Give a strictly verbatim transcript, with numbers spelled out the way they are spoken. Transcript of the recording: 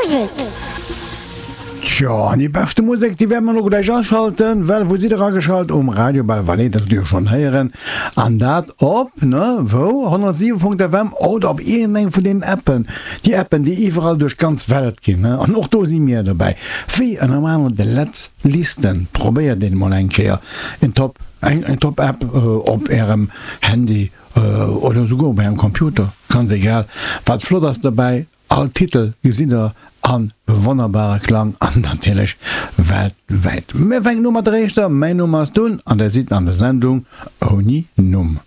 Musek. Tjo, an déi beschte Musek, déi wäerte mer elo gläich aschalten, well wou sidd der ageschalt? Um Radio Belval, dat hutt dir jo schonn héieren, an dat op, ne, wou? honnertsiwe Punkt F M oder op iergendeng vun deenen Appen, déi Appen, déi iwwerall duerch d'ganz Welt ginn, ne, an och do si mir dobäi, wéi ënner anerem de Letz Listen. Probéiert een emol eng Kéier, en Top, eng Top App op ärem Handy oder esouguer op ärem Computer, ganz egal. Wat flott ass dobäi, all Titel gesitt der a wonnerbare Klang an natierlech weltwäit. Mir fänken u mat der éischter, Mäin Numm ass Dunn an der sidd an der Sendung ouni Numm.